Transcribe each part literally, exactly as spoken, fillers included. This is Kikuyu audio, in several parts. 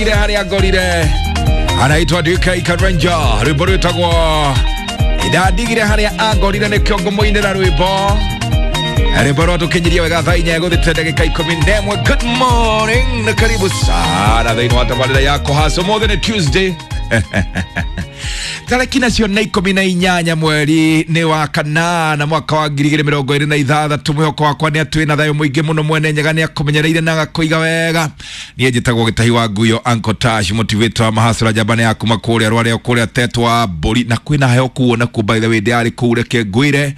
Ile harĩa ngorire anaitwa D K Karenja, rwĩmbo rwĩtagwo ndandigire harĩa angorire nĩkĩo ngũmũinĩra rwĩmbo rwĩmbo rwatũkinyirie wega thaa inya gũthĩte ndagĩka ikũmi na ĩmwe. Good morning na karibu sana thĩinĩ wa tabarĩra yako hasa ũmũthĩ nĩ Tuesday tarĩki nacio nĩ ikũmi na inyanya mweri nĩ wa kanana mwaka wa ngiri igĩrĩ mĩrongo ĩrĩ na ithathatũ. Mwĩhoko wakwa nĩ atĩ wĩna thayũ mũingĩ mũno, mwene Nyaga nĩ akũmenyereire na agakũiga wega. Niĩ njĩtagwo Gĩtahi wa Nguyo, Uncle Tash, motivator wa mahasura njamba ya kuma kũrĩa Rwareo kũrĩa Tetwa Mbũri, na kwĩna heo kuo na kũ by the way ndĩrarĩ kũu reke ngwĩre,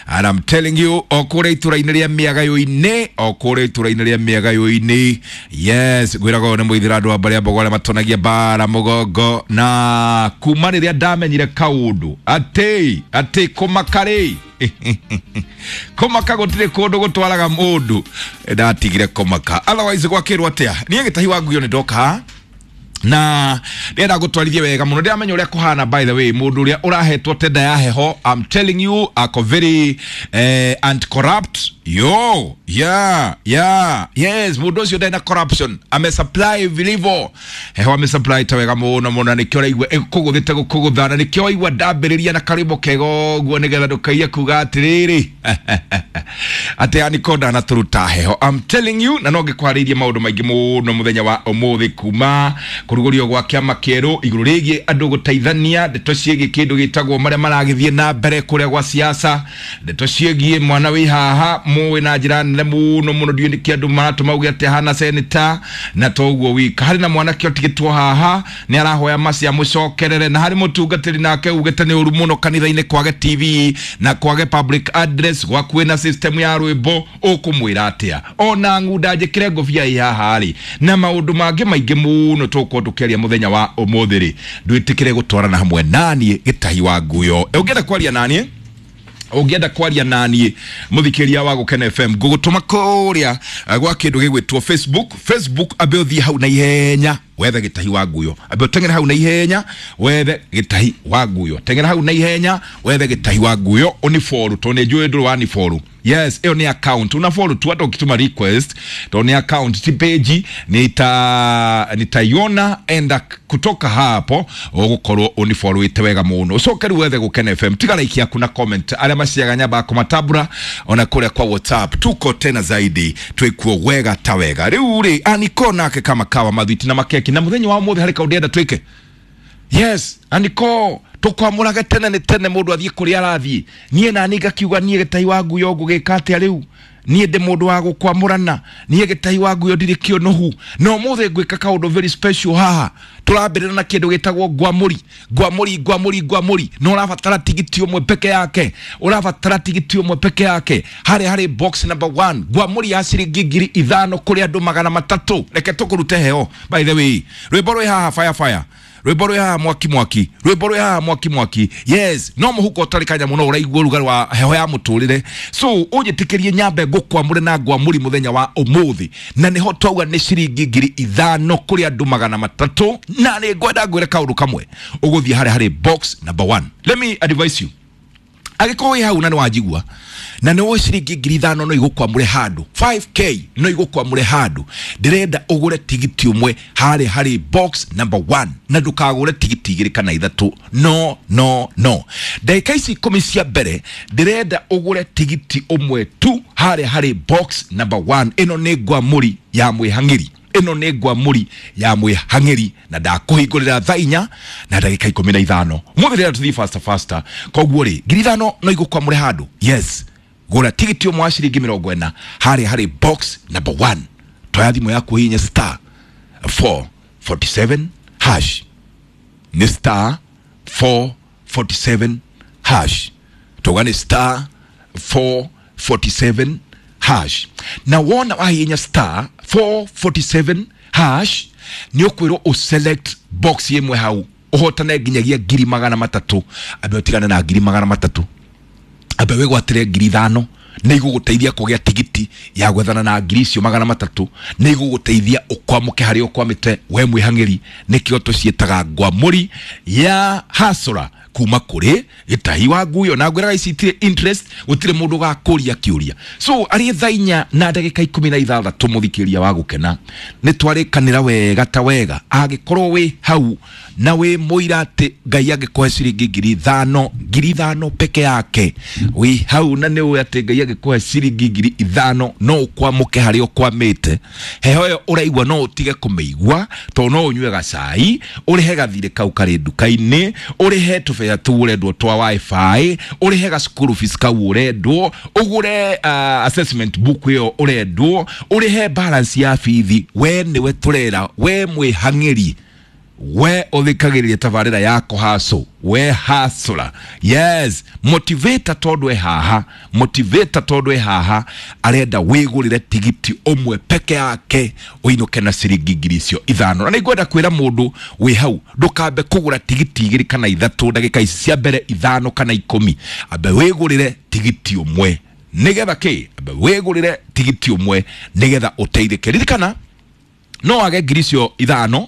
and I'm telling you, o kũrĩa itũra-inĩ rĩa Mĩagayũ-inĩ, o kũrĩa itũra-inĩ rĩa Mĩagayũ-inĩ, yes, ngwĩraga ũyũ nĩ mũithĩra andũ a mbarĩ ya Mbogo arĩa matonagia mbara mũgongo, na kuma rĩrĩa ndamenyire kaũndũ atĩ atĩ kũmaka rĩ kũmaka gũtirĩ kũndũ gũtwaraga mũndũ, ndatigire kũmaka. Otherwise gwakĩrwo atĩa? Niĩ Gĩtahi wa Nguyo nĩ ndoka na ndĩrenda gũtwarithia wega mũno, ndĩramenya ũrĩa kũhana. By the way, mũndũ ũrĩa ũrahetwo tenda ya heho, I'm telling you, ako very eh, anti-corrupt. Yo, yeah, yeah, yes, mũndũ ũcio ndarĩ na corruption, ame supply vilivyo heho, ame supply ta wega mũno mũno, nĩkĩo ũraigua ĩkũgũthĩte gũkũgũtha, na nĩkĩo waigua ndambĩrĩria na karwĩmbo kega ũguo, nĩgetha ndũkaiye kuga atĩrĩrĩ atĩ Aniko ndanatũruta heho. I'm telling you, na no ngĩkwarĩirie maũndũ maingĩ mũno mũthenya wa ũmũthĩ, kuma kũrugũrio gwa kĩama kĩerũ igũrũ rĩgiĩ andũ gũteithania, ndeto ciĩgiĩ kĩndũ gĩtagwo marĩa maragĩthiĩ na mbere kũrĩa gwa siasa, ndeto ciĩgiĩ mwana wĩ haha mũĩ na njĩra nene mũno mũno, ndiũĩ nĩkĩ andũ maratũma uge atĩ ahana seneta, na toguo wika harĩ na mwanake ũtigĩtwo haha nĩ arahoya macia mũcokerere, na harĩ mũtungatĩri nake ugĩte nĩ ũru mũno kanitha-inĩ kwage T V na kwage public address gwakuĩ na system ya rwĩmbo, ũkũmwĩra atĩa? Ona ng'unda njĩkĩre ngũbia ĩ haha rĩ, na maũndũ mangĩ maingĩ mũno tũgũkorwo tũkĩaria mũthenya wa ũmũthĩ rĩ, ndwĩtĩkĩre gũtwarana hamwe naniĩ Gĩtahi wa Nguyo. Ũngĩenda kwaria naniĩ, ũngĩenda kwaria naniĩ mũthikĩria wa Gũkena F M, ngũgũtũma kũrĩa gwa kĩndũ gĩgwĩtwo Facebook. Facebook, ambe ũthiĩ hau na ihenya wethe Gĩtahi wa Nguyo, ambe ũteng'ere hau na ihenya wethe Gĩtahi wa Nguyo, teng'era hau na ihenya wethe Gĩtahi wa Nguyo, ũnifollow tondũ nĩ njũĩ ndũrĩ wanifollow. Yes, ĩyo nĩ account, una follow tu hata ukituma request, tondũ nĩ account ti page, nita nitaiona enda kutoka hapo ũgũkorwo ũnifollowĩte wega mũno. Ũcoke rĩu wethe Gũkena F M, tiga like yaku na comment, arĩa maciaga nyamba kũmatabura ona kũrĩa kwa WhatsApp, tuko tena zaidi twĩkuo wega ta wega. Rĩu rĩ Aniko nake kama kawa mathwiti na makeki, na mũthenya wa ũmũthĩ harĩ kaũndũ ndĩrenda twĩke. Yes, Aniko tũkwamũrage tene nĩ tene mũndũ athiĩ kũrĩa arathiĩ. Niĩ nani ngakiuga niĩ Gĩtahi wa Nguyo ngũgĩka atĩa rĩu? Niĩ ndĩ mũndũ wa gũkwamũrana, niĩ Gĩtahi wa Nguyo ndirĩ kĩũnũhu, na ũmũthĩ ngwĩka kaũndũ very special haha. Tũrambĩrĩra na kĩndũ gĩtagwo ngwamũri, ngwamũri, ngwamũri, ngwamũri, na ũrabatara tigiti ũmwe peke yake, ũrabatara tigiti ũmwe peke yake harĩa harĩ box number one, ngwamũri ya ciringi ngiri ithano kũrĩ andũ magana matatũ. Reke tũkũrute heo. By the way, rwĩmbo rwĩ haha fire fire, rwĩmbo rwĩ haha mwaki mwaki, rwĩmbo rwĩ haha mwaki mwaki. Yes, no mũhuko ũtarĩ kanya mũno ũraigua ũrugarĩ wa heho ya mũtũrĩre. So ũnjĩtĩkĩrie nyambe ngũkwamũre na ngwamũri mũthenya wa ũmũthĩ, na nĩho twauga nĩ ciringi ngiri ithano kũrĩ andũ magana matatũ, na nĩ ngwenda ngwĩre kaũndũ kamwe, ũgũthiĩ harĩa harĩ box number one. Let me advise you, angĩkorwo wĩ hau na nĩ wanjigua na nĩ woe ciringi ngiri ithano no igũkwamũre handũ, five K no igũkwamũre handũ, ndĩrenda ũgũre tigiti ũmwe harĩa harĩ box number one, na ndũkagũre tigiti igĩrĩ kana ithatũ. No, no, no, ndagĩka ici ikũmi cia mbere ndĩrenda ũgũre tigiti ũmwe tu harĩa harĩ box number one. Ĩno nĩ ngwamũri ya mwĩhang'ĩri, ĩno nĩ ngwamũri ya mwĩhang'ĩri, na ndakũhingũrĩra thaa inya na ndagĩka ikũmi na ithano. Mũthĩ rĩrĩa tũthiĩ faster faster, koguo rĩ ngiri ithano no igũkwamũre handũ. Yes, gũra tigiti ũmwe wa ciringi mĩrongo ĩna harĩa harĩ box number one. Toya thimũ yaku hihinya star four forty seven hash, nĩ star four forty seven hash, tuga nĩ star four forty seven hash, na wona wahihinya star four forty seven hash nĩ ũkwĩrwo ũselect box ĩmwe hau ũhotane nginyagia ngiri magana matatũ. Ambe ũtigane na ngiri magana matatũ, ambe wĩgwatĩre ngiri ithano, nĩ igũgũteithia kũgĩa tigiti ya gwethana na ngiri icio magana matatũ, nĩ igũgũteithia ũkwamũke harĩa ũkwamĩte we mwĩhang'ĩri. Nĩkĩo tũciĩtaga ngwamũri ya hasũra kuma kũrĩ Gĩtahi wa Nguyo, na ngwĩraga ici itirĩ interest, gũtirĩ mũndũ ũgakũria kĩũria. So arĩ thaa inya na ndagĩka ikũmi na ithathatũ, mũthikĩria wa gũkena, nĩ twarĩkanĩra wega ta wega. Angĩkorwo wĩ hau na wĩ mũira atĩ Ngai angĩkũhe ciringi ngiri ithano, ngiri ithano peke yake, wĩ hau na nĩ ũĩ atĩ Ngai angĩkũhe ciringi ngiri ithano no ũkwamũke harĩa ũkwamĩte, heho ĩyo ũraigua no ũtige kũmĩigua, tondũ no ũnyue gacai, ũrĩhe gathirĩ kau karĩ nduka-inĩ, ũrĩhe tũbeca tũu ũrendwo twa wifi, ũrĩhe ga school fees kau ũrendwo, ũgũre uh, assessment book ĩyo ũrendwo, ũrĩhe balance ya bithi. We nĩwe tũrera, we mwĩhang'ĩri, we ũthikagĩrĩria tabarĩra yako haso, we hasũra. Yes, motivator tondũ e haha, motivator tondũ e haha arenda wĩgũrĩre tigiti ũmwe peke yake ũinũke na ciringi ngiri icio ithano. Na nĩngwenda kwĩra mũndũ wĩ hau, ndũkambe kũgũra tigiti igĩrĩ kana ithatũ ndagĩka ici cia mbere ithano kana ikũmi, ambe wĩgũrĩre tigiti ũmwe nĩgetha kĩ, ambe wĩgũrĩre tigiti ũmwe nĩgetha ũteithĩke. Ririkana no wage ngiri icio ithano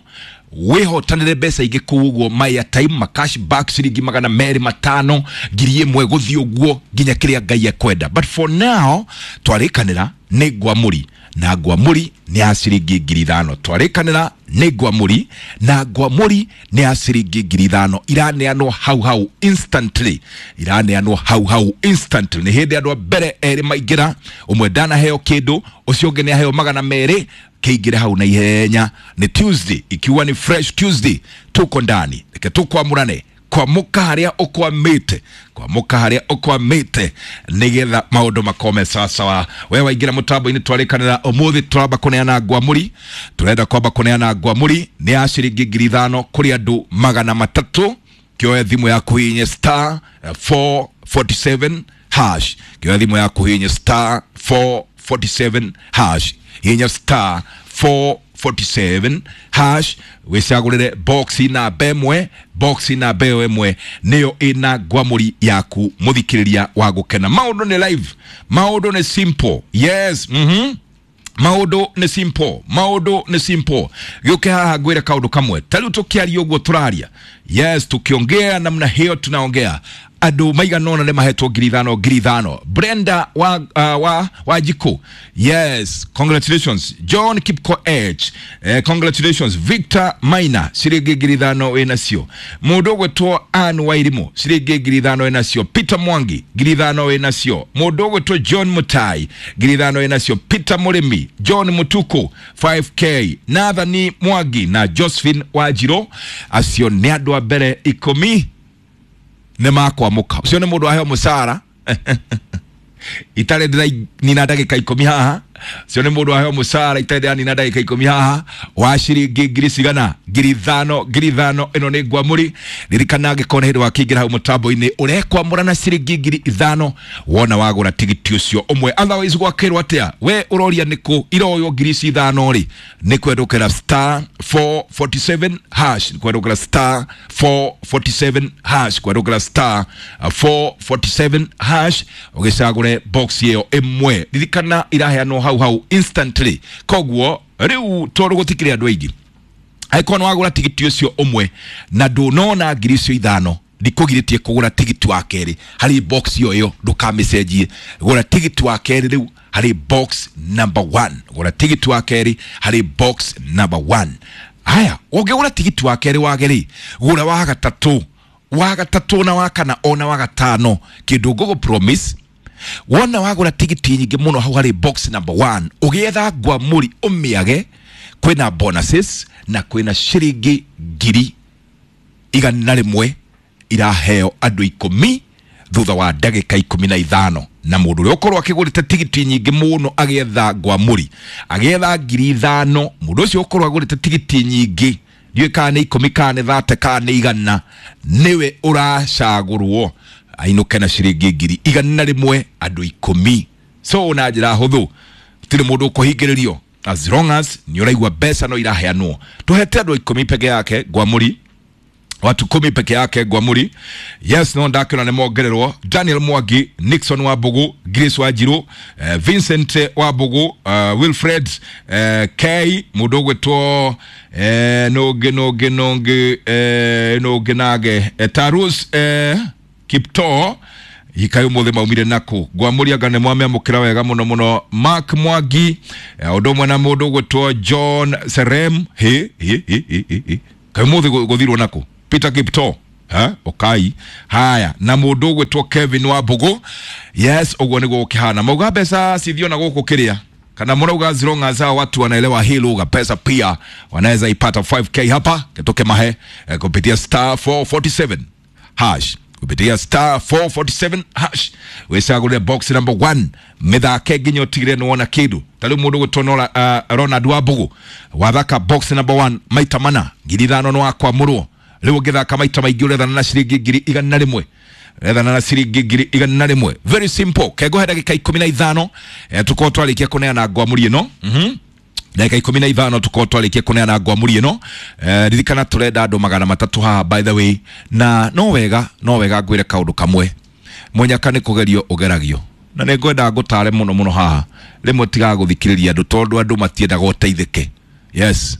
wĩhotanĩre mbeca ingĩ kũu ũguo, my time ma cash back ciringi magana merĩ matano, ngiri ĩmwe, gũthiĩ ũguo nginya kĩrĩa Ngai ekwenda. But for now twarĩkanĩra nĩ ngwamũri, na ngwamũri nĩ ya ciringi ngiri ithano. Twarĩkanĩra nĩ ngwamũri, na ngwamũri nĩ ya ciringi ngiri ithano, iraneanwo hau hau instantly, iraneanwo hau hau instantly. Nĩ hĩndĩ andũ a mbere erĩ maingĩra, ũmwe ndanaheo kĩndũ, ũcio ũngĩ nĩ aheo magana merĩ. Kĩingĩre hau na ihenya. Nĩ Tuesday, ikiwa ni fresh Tuesday, tuko ndani, reke tukwamũrane, kwamũka harĩa ũkwamĩte, kwamũka harĩa ũkwamĩte, nĩgetha maũndũ makome sawasawa. We waingĩra mũtambo-inĩ, twarĩkanĩra ũmũthĩ tũramba kũneana ngwamũri, tũrenda kwamba kũneana ngwamũri nĩ ya ciringi ngiri ithano kũrĩ andũ magana matatũ. Kĩoe thimũ yaku hihinye star four forty-seven hash, kĩoe thimũ yaku hihinye star four forty-seven hash, hihinya star four forty-seven hash, wĩcagũrĩre box namba ĩmwe, box namba ĩyo ĩmwe nĩyo ĩna ngwamũri yaku. Mũthikĩrĩria wa gũkena, maũndũ nĩ live, maũndũ nĩ simple. Yes, mhm maũndũ nĩ simple, maũndũ nĩ simple. Gĩũke haha ngwĩre kaũndũ kamwe. Ta rĩu tũkĩaria ũguo tũraria, yes, tukiongea namna hiyo tunaongea, andũ maigana ũna nĩ mahetwo ngiri ithano ngiri ithano. Brenda wa, uh, wa, wa Jiko, yes, congratulations. John Kipkoech, eh, congratulations. Victor Maina, ciringi ngiri ithano wĩnacio. Mũndũ ũgwĩtwo Ann Wairimu, ciringi ngiri ithano wĩnacio. Peter Mwangi, ngiri ithano wĩnacio. Mũndũ ũgwĩtwo John Mutai, ngiri ithano wĩnacio. Peter Mũrĩmi, John Mutuku five K, Nathani Mwangi na Josephine Wanjirũ, acio nĩ andũ a mbere ikũmi nĩ makwamũka. Ũcio nĩ mũndũ waheo mũcara itarĩ ndĩranina ndagĩka ikũmi haha. Ũcio nĩ mũndũ waheo mũcara itarĩ ndĩranina ndagĩka ikũmi haha wa ciringi ngiri cigana, ngiri ithano, ngiri ithano. Ĩno nĩ ngwamũri. Ririkana angĩkorwo nĩ hĩndĩ wakĩingĩra hau mũtambo-inĩ ũrekwamũra na ciringi ngiri ithano wona wagũra tigiti ũcio ũmwe. Otherwise gwakĩrwo atĩa? We ũroria nĩkũ iroywo ngiri ici ithano rĩ? Nĩ kwendũkĩra star four forty-seven hash, nĩ kwendũkĩra star four forty-seven hash, kwendũkĩra star four forty-seven hash ũgĩcagũre box ĩyo ĩmwe. Ririkana iraheanwo hau hau instantly, koguo rĩu tondũ gũtikĩrĩ andũ aingĩ, angĩkorwo nĩ wagũra tigiti ũcio ũmwe na ndũnona ngiri icio ithano, ndikũgirĩtie kũgũra tigiti wa kerĩ harĩ box ĩyo ĩyo, ndũkamĩcenjie. Gũra tigiti wa kerĩ rĩu harĩ box number one, gũra tigiti wa kerĩ harĩ box number one. Haya, ũngĩgũra tigiti wa kerĩ wage rĩ, gũra wa gatatũ, wa gatatũ na wa kana ona wa gatano. Kĩndũ ngũgũ promise, wona wagũra tigiti nyingĩ mũno hau harĩ box number one, ũgĩetha ngwamũri ũmĩage, kwĩna bonuses na kwĩna ciringi ngiri igana rĩmwe iraheo andũ ikũmi thutha wa ndagĩka ikũmi na ithano. Na mũndũ ũrĩa ũkorwo akĩgũrĩte tigiti nyingĩ mũno agĩetha ngwamũri, agĩetha ngiri ithano, mũndũ ũcio ũkorwo agũrĩte tigiti nyingĩ, ndiũĩ kana nĩ ikũmi kana nĩ thate kana nĩ igana, nĩwe ũracagũrwo ainũke na ciringi ngiri igana rĩmwe andũ ikũmi. So na njĩra hũthũ, gũtirĩ mũndũ ũkũhingĩrĩrio as long as nĩ ũraigua mbeca no iraheanwo. Tũhete andũ ikũmi peke yake ngwamũri. Watu kumi peke yake Ngwamuri. Yes, no ndakiona nĩ mongererwo Daniel Mwangi, Nixon Wambugu, Grace Wanjiru, eh, Vincent Wambugu, uh, Wilfred eh, K mũndũ ũgwĩtwo eh, nũngĩ nũngĩ nũngĩ eh, nũngĩ nage eh, Tarus eh, Kiptoo ikayo mothe maumire nako Ngwamuri anga nĩ mwamĩamũkĩra wega mũno mũno. Mark Mwangi, eh, ũndũ ũmwe na mũndũ ũgwĩtwo John Serem he he he he he kaĩ mũthĩ gũthirwo nako Peter Kiptoo ha okai haya na mũndũ ũgwĩtwo Kevin Wambugu. Yes, ũguo nĩguo gũkĩhana. Mauga mbeca cithiona gũkũ kĩrĩa kana mũrauga zironga za watu wanaelewa hii lugha, pesa pia wanaweza ipata five K hapa kitoke mahe eh, kupitia star four forty-seven hash, kupitia star four forty-seven hash wicagũrĩre box number one mĩthake nginya ũtigire nĩwona kĩndũ. Ta rĩu mũndũ ũgwĩtwo Nora, uh, Ronald Wambugu wathaka box number one maita mana ngiri ithano nĩ wakwamũrwo. Rĩu ũngĩthaka maita maingĩ ũrethana na ciringi ngiri igana rĩmwe, rethana na ciringi ngiri igana rĩmwe. Very simple. Kengohe ndagĩka ikũmi na ithano eh, tukorwo twarĩkia kũneana ngwamũri ĩno. Mhm ndagĩka ikũmi na ithano tukorwo twarĩkia kũneana ngwamũri ĩno. Eh, ririkana tũrenda andũ magana matatũ haha by the way, na no wega no wega ngwĩre kaũndũ kamwe, mũnyaka nĩ kũgerio ũgeragio, na nĩ ngwenda ngũtare mũno mũno haha rĩmwe tigaga gũthikĩrĩria andũ tondũ andũ matiendaga ũteithĩke. Yes,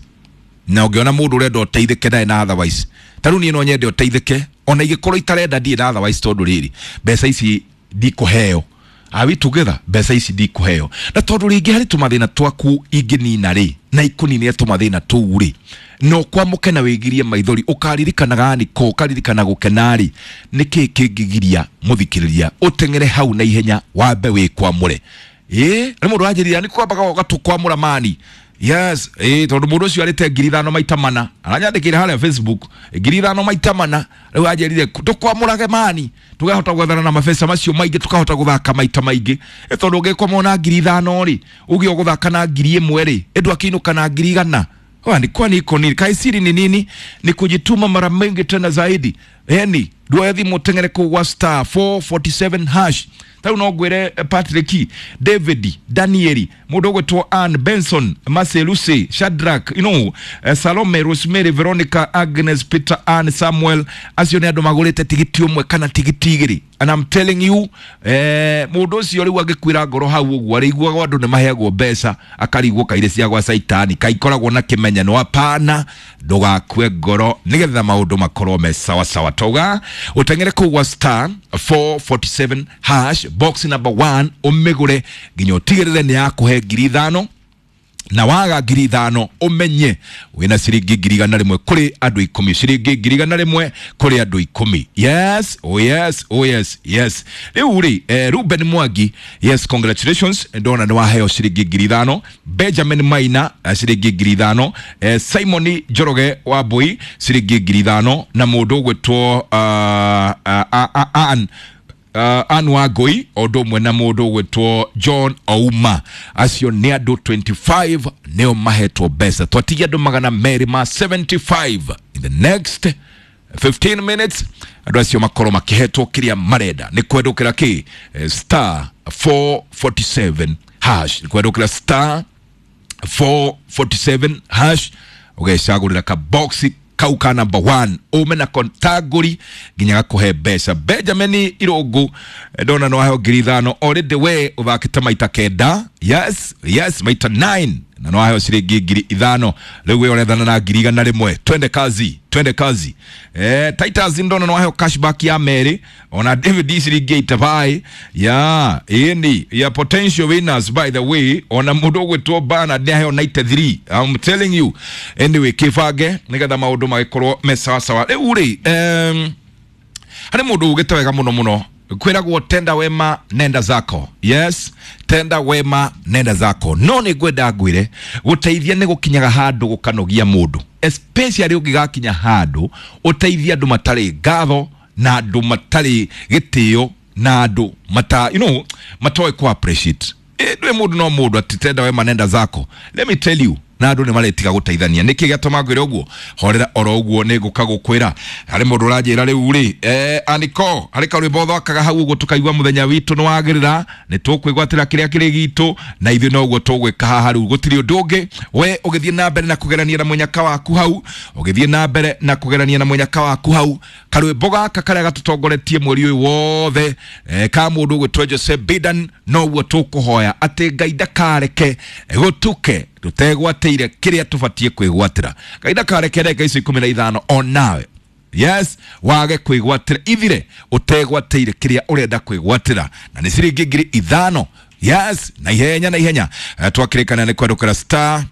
na ũngĩona mũndũ ũrenda ũteithĩke ndarĩ na otherwise, ta rĩu niĩ no nyende ũteithĩke ona ingĩkorwo itarenda ndirĩ na otherwise, tondũ rĩrĩ mbeca ici ndikũheo. Are we together? Mbeca ici ndikũheo, na tondũ rĩngĩ harĩ tũmathĩna twaku ingĩnina rĩ na ikũninĩre tũmathĩna tũu rĩ, no kwamũke na wĩgirie maithori ũkaririkanaga nĩkũ ũkaririkana gũkena rĩ, nĩkĩ kĩngĩgiria mũthikĩrĩria ũteng'ere hau na ihenya wambe wĩkwamũre. Ĩ nĩ mũndũ wanjĩrire nĩ kwambaga ũgatũkwamũra mani. Yes, eh tondu mundu ucio arite ngiri ithano maita mana aranyandikire haria Facebook ngiri ithano maita mana riu anjirire tukwamurage mani tugahota gwethana na mabesa macio maingi tukahota guthaka maita maingi. E tondu ungikwamwo na ngiri ithano ri ugi uguthaka na ngiri imwe ri endu akiinuka na ngiri igana. Kwani kwani iko nini kaisiri ni nini? Ni kujituma mara mingi tena zaidi. Yani nduoye thimu tengere kugwa star four forty-seven hash. Tau no ngwire Patrick, David, Danieli, mundu ugwitwo Ann Benson, Marcel, Shadrach, you know, Salome, Rosemary, Veronica, Agnes, Peter, Ann, Samuel, acio ni andu magurite tigiti umwe kana tigiti igiri. And I'm telling you, eh mundu ucio riu angikwira ngoro hau uguo ariguaga andu ni maheagwo mbeca akarigwo kaire cia gwa Saitani kaikoragwo na kimenyano. Hapana, ndugakue ngoro nigetha maundu makorwo me sawa sawa. Tauga utengere kugwa star four forty-seven hash box number one umigure nginya utigirire ni yakuhe ngiri ithano na waga ngiri ithano umenye wina ciringi ngiri igana rimwe kuri andu ikumi, ciringi ngiri igana rimwe kuri andu ikumi. Yes, oh yes, oh yes, yes. Riu ri eh, Ruben Mwangi, yes, congratulations, ndona ni waheo ciringi ngiri ithano. Benjamin Maina ciringi ngiri ithano, eh, Simon Njoroge wa Mbui ciringi ngiri ithano na mundu ugwitwo uh, uh, uh, Ann Uh, Ann Wangui undu umwe na mundu ugwitwo John Ouma. Acio ni andu twenty-five nio mahetwo mbeca. Twatigia andu magana meri ma seventy-five in the next fifteen minutes andu acio makorwo makihetwo kiria marenda. Ni kwendukira ki star four forty-seven hash, ni kwendukira star four forty-seven hash ugecagurira ka box kau ka number one ume na kontaguri nginya gakuhe mbeca. Benjamin Irungu ndona no aheo ngiri ithano already we uthakite maita kenda. Yes, yes, maita nine na no aheo ciringi ngiri ithano. Riu we urethana na ngiri igana rimwe. Twende kazi, twende kazi. Eh, Titus ndona no aheo cashback ya Mary ona David ciringi eighty-five ya ini ya potential winners by the way ona mundu ugwitwo Bernard aheo ninety-three. I'm telling you. Anyway, kibange nigetha maundu magikorwo me sawa sawa. Riu ri em hari mundu ugite wega muno muno kwiragwo tenda wema nenda zako. Yes, tenda wema nenda zako. No ni ngwenda ngwire guteithia ni gukinyaga handu gukanogia mundu, especially ungigakinya handu uteithia andu matari ngatho na andu matari gitio na andu mata you know matoe ku appreciate. Ndwe mundu no mundu ati tenda wema nenda zako. Let me tell you, Na andũ nĩ maretiga gũteithania. Nĩkĩ gĩatũma ngwĩre ũguo? Horera oro ũguo, nĩ ngũka gũkwĩra. Harĩ mũndũ ũranjĩra rĩu rĩ, eh, aniko harĩ karwĩmbo ũthakaga hau ũguo tũkaigua mũthenya witũ nĩ wagĩrĩra, nĩ tũkwĩgwatĩra kĩrĩa kĩrĩ gitũ, na ithuĩ noguo tũgwĩka haha rĩu, gũtirĩ ũndũ ũngĩ. We ũgĩthiĩ na mbere na kũgerania na mũnyaka waku hau, ũgĩthiĩ na mbere na kũgerania na mũnyaka waku hau, karwĩmbo gaka karĩa gatũtongoretie mweri ũyũ wothe, eh, ka mũndũ ũgwĩtwo Jose Bidan, noguo tũkũhoya atĩ Ngai ndakareke gũtuke tũtegwatĩire kĩrĩa tũbatiĩ kwĩgwatĩra. Ngai ndakareke ndagĩka icio ikũmi na ithano onawe, yes, wage kwĩgwatĩra, ithire ũtegwatĩire kĩrĩa ũrenda kwĩgwatĩra, na nĩ ciringi ngiri ithano. Yes, na ihenya na ihenya. Eh, twakĩrĩkana nĩ kwandũkĩra star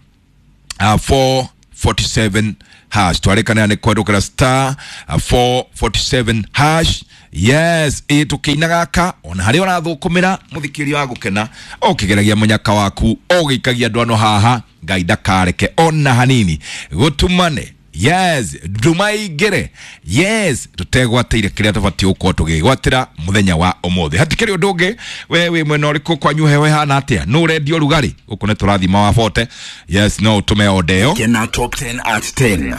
uh, four forty-seven hash. Twarĩkanĩra nĩ kwandũkĩra star uh, four forty-seven hash. Yes, ĩ tũkĩina gaka, ona harĩa ũrathũkũmĩra mũthikĩria wa gũkena, ũkĩgeragia mũnyaka waku, ũgĩikagia ndwano haha, Ngai ndakareke ona hanini gũtumane. Yes, nduma ingĩre, yes, tũtegwatĩire kĩrĩa tũbatiĩ gũkorwo tũgĩgwatĩra mũthenya wa ũmũthĩ. Hatikĩrĩ ũndũ ũngĩ. We wĩ mwena ũrĩkũ? Kwanyu heho ĩhana atĩa? Nũ ũrendia ũrugarĩ? Gũkũ nĩ tũrathima wa bote. Yes, no ũtũme ondeo. Kena Top ten at ten.